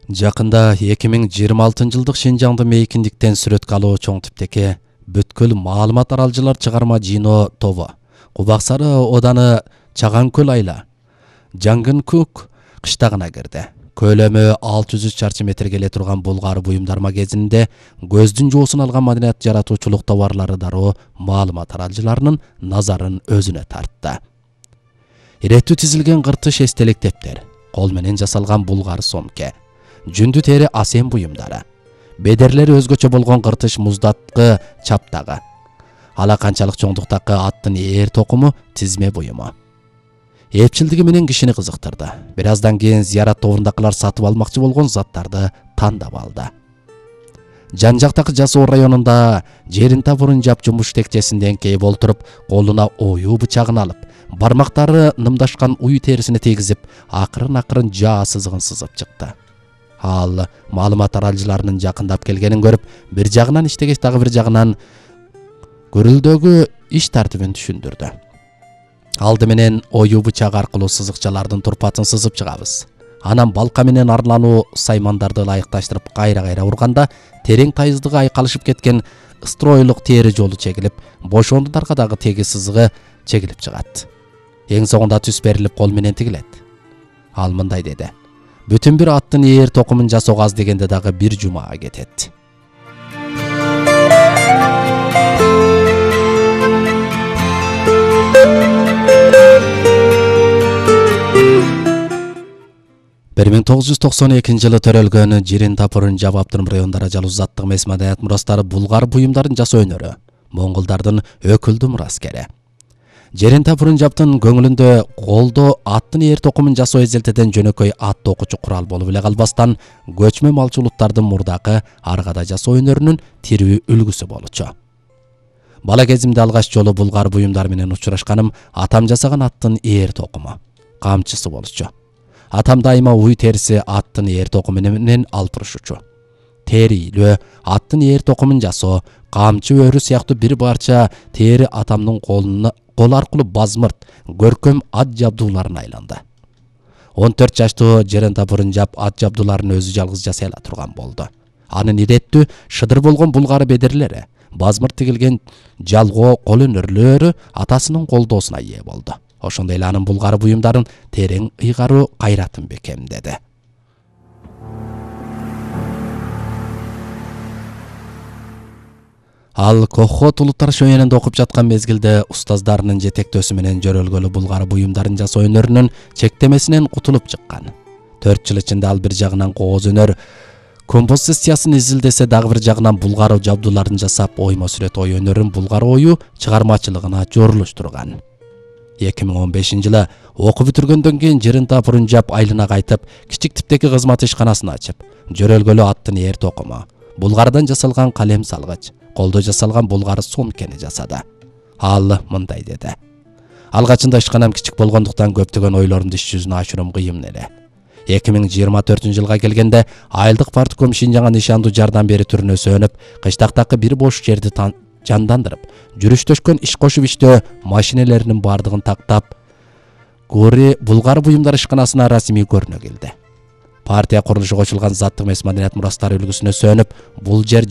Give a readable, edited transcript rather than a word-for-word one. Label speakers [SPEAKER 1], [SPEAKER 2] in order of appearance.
[SPEAKER 1] Жакында 2026-жылдык Шинжаңды мейкиндиктен сүрөткө алуу чоң типтеги бүткүл маалымат аралжылар чыгарма жыйноо тобу Кубаксары Оданы Чаган-Көл айла Жаңгын-Кук кыштагына кирди. Көлөмү 600 чарчы метрге келе турган булгар буюмдар магазининде көздүн жоосун алган маданият жаратуучулук товарлары дароо маалымат аралжыларынын назарын өзүнө тартты. Иреттүү тизилген кыртыш эстелик тептер, кол менен жасалган булгар сомке, жүндү тери асен буюмдары, бедерлери өзгөчө болгон кыртыш муздаткы чаптагы, ала канчалык чоңдуктагы аттын ээр токуму тизме буюму. Эпчилдиги менен кишини кызыктырды. Бир аздан кийин зыярат тобундакылар сатып алмакчы болгон заттарды тандап алды. Жан-жактагы Жасоо районунда жерин табурун жап жумуш текчесинден кээп олтуруп, колуна оюу бычагын алып, бармактары нымдашкан уй терисине тийгизип, акырын жаа сызыгын сызып чыкты. Ал маалымат аралжыларынын жакындап келгенин көрүп, бир жагынан иштегеч дагы бир жагынан көрүлдөгү иш тартибин түшүндүрдү. Алды менен оюу бычагы аркылуу сызыкчалардын турпатын сызып чыгабыз. Анан балка менен арлануу саймандарды ылайыкташтырып кайра урганда терең тайыздыгы айкалышып кеткен стройлук тери жолу чегилип, бош ондундарга дагы теги сызыгы чегилип чыгат. Эң соңунда түс берилип кол менен тигилет. Ал мындай деди: бүтүн бир аттын ээр токумун жасоого аз дегенде дагы бир жумага кетет. Бир 1992 жылы төрөлгөн Жирин Тапурун Жаб Аптырым райондары жалуузаттык эмес маданият мурастары булгар буюмдарын жасоо өнөрү, монголдардын өкүлдүү мураскери. Жирин Тапурун Жаптын көңүлүндө колдо аттын ээр токумун жасоо эзелтеден жөнөкөй ат токучу курал болуп эле калбастан, көчмө малчы улуттардын мурдакы аргада жасоо өнөрүнүн тирүү үлгүсү болчу. Бала кезимде алгач жолу булгар буюмдар менен учурашканым атам жасаган аттын ээр токуму, камчысы болчу. Атам дайыма уй териси аттын ээр токуму менен алып турушчу. Терилөө аттын ээр токумун жасоо, камчы өрү сыяктуу бир барча тери атамдын кол аркылуу базмырт, көркөм ат жабдууларына айланды. 14 жаштуу Жирин Тапурун Жап ат жабдууларын өзү жалгыз жасай ала турган болду. Анын иреттүү, шыдыр болгон булгары бедерлери, базмырт тигилген жалгоо кол өнөрлөрү атасынын колдоосуна ээ болду. Ошондой эле анын булгары буюмдарын терең ыйгаруу кайратын бекемдеди. Ал Кохот улуттар шөйөнүндө окуп жаткан мезгилде устаздарынын жетектөөсү менен жөрөлгөлү булгары буюмдарын жасоо өнөрүнүн чектемесинен кутулуп чыккан. 4 жыл ичинде ал бир жагынан кооз өнөр композициясын изилдесе, дагы бир жагынан булгары жабдууларын жасап, оймо сүрөт ой өнөрүн булгары ою чыгармачылыгына жоорулуштурган. 2015 жылы окуп бүтүргөндөн кийин Жирин Тапурун Жап айылына кайтып, кичик типтеги кызмат ишканасын ачып, жөрөлгөлү аттын ээр токуму, булгардан жасалган калем салгыч, колдо жасалган булгары сомкени жасады. Ал мындай деди: алгачында ишканам кичик болгондуктан көптөгөн ойлорумду иш жүзүнө ашыруу кыйын эле. 2024 жылга келгенде айылдык партком Шинжаңга нишандуу жардам бери түрүнө сөнүп, кыштактагы бир бош жерди жандандырып, жүрүштөшкөн иш кошуп иштөө машинелеринин бардыгын тактап, Гори булгар буюмдар ишканасына расмий көрүнө келди. Партия курулушу кошулган заттык эмес маданият мурастары үлгүсүнө сөнүп, бул жер